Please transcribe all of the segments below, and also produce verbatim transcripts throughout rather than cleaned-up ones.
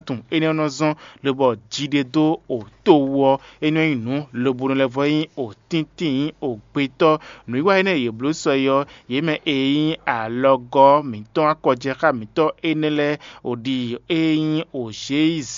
tun énɛ́ ɔ́ nɔ zɔ́n, lobɔ jiɖedó o to wú ɔ́, é nɔ nyí nǔ lobo nɔ lɛ́ vɔ nyí o tíntín nyí o gbetɔ́. Nǔwiwa énɛ́ e yě bló sɔ é ɔ́, yě mɛ e nyí alɔgɔ́ mǐtɔn akɔjɛxá mǐtɔn énɛ́ lɛ́ɛ, o ɖi e nyí o G I Z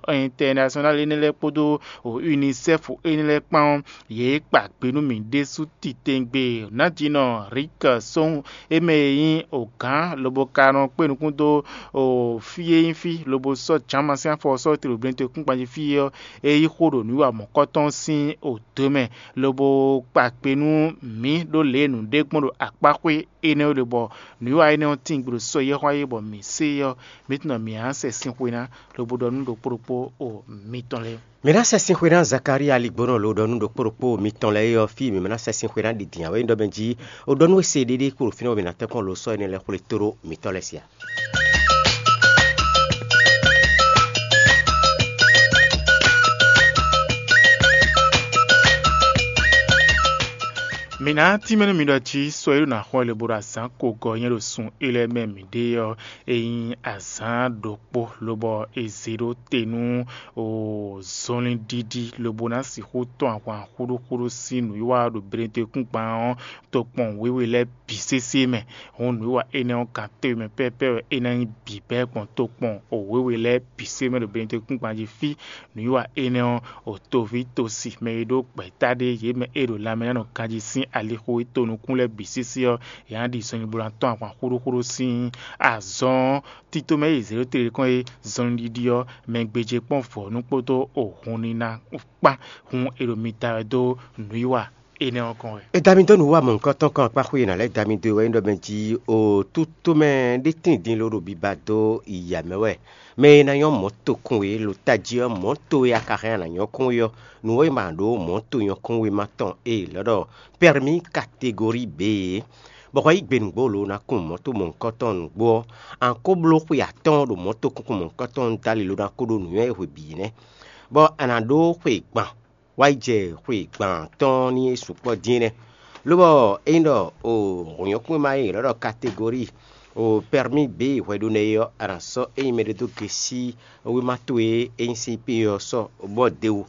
International énɛ́ lɛ́ɛ kpódó o UNICEF énɛ́ lɛ́ɛ kpán ɔ́, yě kpa gbe nú mì ɖésú titewungbe. Nǎjínɔ Rik Sóhun, é mɛ e nyí o gǎn lobo ka nɔ kpé nukún dó o fí e nyí fí lobo sɔ́ jǎnma sín afɔ ɔ́ sɔ́ te ɖo blɛ́nte kúngban jí fí é ɔ́, é yí xó ɖo nǔwiwa mɔ̌kɔtɔn sín o dǒ mɛ, lobo kpa kpe nú mǐ ɖó lě e nǔɖé gbɔn ɖo akpáxwé énɛ́ ɔ́ ɖe, bɔ nǔwiwa énɛ́ ɔ́ tíin gbe ɖo sɔ e yɛ́ xwá é, bɔ mǐ se é ɔ́, mǐ tunwun ɖɔ mǐ ná sɛ sin xwe ná, lobo ɖɔ nú ɖokpó ɖokpó o mitɔn lɛ́ɛ. Mǐ ná sɛ sin xwe ná Zakalía Ligbónɔ lo ɖɔ nú ɖokpó ɖokpó mitɔn lɛ́ɛ é ɔ́, fí e mǐ ná sɛ sin xwe ná ɖi din ǎ wɛ nyí ɖɔ mɛ jí o ɖɔ nú we se ɖéɖé kpo ɖo fínɛ́ bɔ mǐ ná tɛ́nkpɔ́n lo sɔ́ énɛ́ lɛ́ɛ xwlé tóɖó mitɔ́ lɛ́ɛ sí a? Mǐ ná tínmɛ nú mi ɖɔ jí sɔ e ɖo ná xɔ le bó ɖo azǎn ko gɔ́ nyɛ ɖo sun é lɛ́ɛ mɛ mǐ ɖe ɔ́, é nyí azǎn ɖokpó, lobɔ è zě ɖó te nú zɔnlin ɖiɖi, lobo ná sixú tɔn ahwan xúɖúxúɖú sín nǔwiwa ɖo Beletɛkúngban ɔ́ tokpɔn wěwe lɛ́ɛ bǐ sésé mɛ. Hǔn nǔwiwa énɛ́ ɔ́, kan téwe mɛ pɛ́pɛ́ wɛ é ná nyí bǐbɛ́ gbɔn tokpɔn wěwe lɛ́ɛ bǐ sé mɛ ɖo Beletɛkúngban jí fí. Nǔwiwa énɛ́ ɔ́, o toví tosi mɛ e ɖó gbɛ̌ta ɖé, yě mɛ e ɖo lanmɛ ná nɔ ganjí sín alixo e to nukún lɛ́ɛ bǐ sísí ɔ́, yě ná ɖi zɔnnyibú ná tɔn ahwan xúɖúxúɖú sín azɔn ɔ́. Tito mɛ e zě ɖó te kɔn e zɔnlin ɖiɖi ɔ́, mɛ gbéjé kpɔ́n vɔ̌nu kpódó ohun ní ná kpán. Hun e ɖo mi da wɛ dó nǔwiwa énɛ́ ɔ́ kɔn wɛ. È da mi dó nǔwiwa mɔ̌hunkɔtɔn kɔn akpáxwé e nǎ lɛ́ da mi dó e wɛ nyí ɖɔ mɛ jí o tútomɛ ɖé tíin din ló ɖo biba dó ya mɛ wɛ. Mɛ e ná nyɔ́ mɔ̌ tokun e lo tají ɔ́, mɔ̌ towe a ka hɛn a nǎ nyɔ́ kún we ɔ́, nǔ e ma ɖó mɔ̌ to nyɔ́kún wéma tɔn e è lɔ̌ ɖɔ pɛrmí kategóri B é, bɔ hwɛ yí gbe nǔgbó lo ná kún mɔ̌ to mɔ̌hunkɔtɔn nǔgbó ɔ́, a nǎ ko bló xwe atɔ́ɔ́n ɖo mɔ̌ tokúnkún mɔ̌hunkɔtɔn dali lo ná ko ɖó nǔnywɛ́ e hwe bǐ nɛ́, bɔ a nǎ ɖó xwe gban wá yi jɛ xwe gban tɔn ní é sukpɔ́ dín é nɛ́. Lobɔ ényí ɖɔ o hǔnyɔ́kúnma e è nɔ ɖɔ kategóri o pɛrmí bǐ hwɛɖónɛ é ɔ́, a nǎ sɔ́ ényí mɛɖé dó gesí wéma towe e nyí C P ɔ́ sɔ́ bɔ de wú,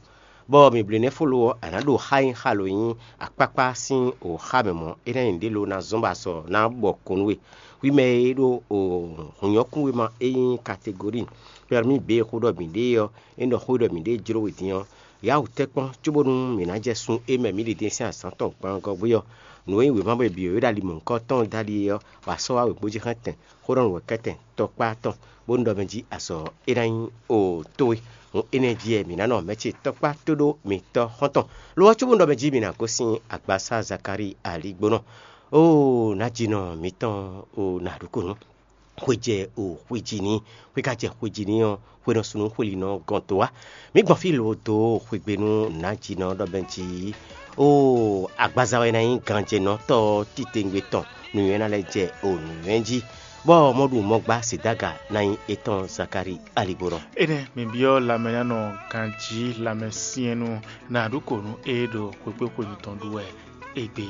bɔ mǐ bló nɛ́ fó lo ɔ́, a nǎ ɖo xá nyí xa lo nyí akpákpá sín o xá mɛ mɔ̌, é ná nyí nǔɖé lo ná zɔ́n bɔ azɔ̌ ná bɔ kɔn nú we. Hwi mɛ e ɖo o hǔnyɔ́kúnwéma e nyí kategóri pɛrmí bǐ xó ɖɔ mǐ ɖe ɔ́, é nɔ xó ɖɔ mǐ ɖe jló we din ɔ́, yǎ wǔ tɛ́ kpɔ́n cóbónú mǐ ná jɛ sun e mɛ mǐ ɖi din sín azǎn tɔn gbangɔ́ gbé ɔ́. Nǔ e nyí wěma bɔ è byɔ̌ é ɖo ali mɔ̌hunkɔtɔn dali é ɔ́, wǎ sɔ́ wá wěgbójí xɛ́ntɛn xó ɖɔ nǔ wɛ kɛ́tɛn tɔkpá tɔn, bónú ɖɔ mɛ jí azɔ̌ é ná nyí o towe. Hǔn énɛ́ jí wɛ mǐ ná nɔ mɛ ce tɔkpá tó ɖó mitɔ́ xɔ́ntɔn. Lo ɔ́ cóbónú ɖɔ mɛ jí mǐ ná gosín agbasá Zakalíi aligbónɔ. Oo, nǎjínɔ mǐtɔn, o nǎɖukunú. Xwe jɛ o xwe jí ní, xwe ka jɛ xwe jí ní ɔ́, xwe nɔ sunu xwe lǐnɔ gɔn dó wá. Mǐ gbɔn fí lo dó xwegbe nú nǎjínɔ ɖɔ bɛn jí. Oo, agbaza wɛ ná nyí ganjɛnɔtɔ́ titewungbe tɔn, nǔnywɛ́ ná lɛ́ jɛ o nǔnywɛ́ jí, bɔ mɔɖu mɔgbá Sidaga ná nyí étɔn Zakalíi aligbónɔ. Énɛ́ mǐ byɔ́ lanmɛnánɔ ganjí lanmɛsyɛ́nnú nǎɖukunú e ɖo xwekpéxwenu tɔn ɖu wɛ égbé.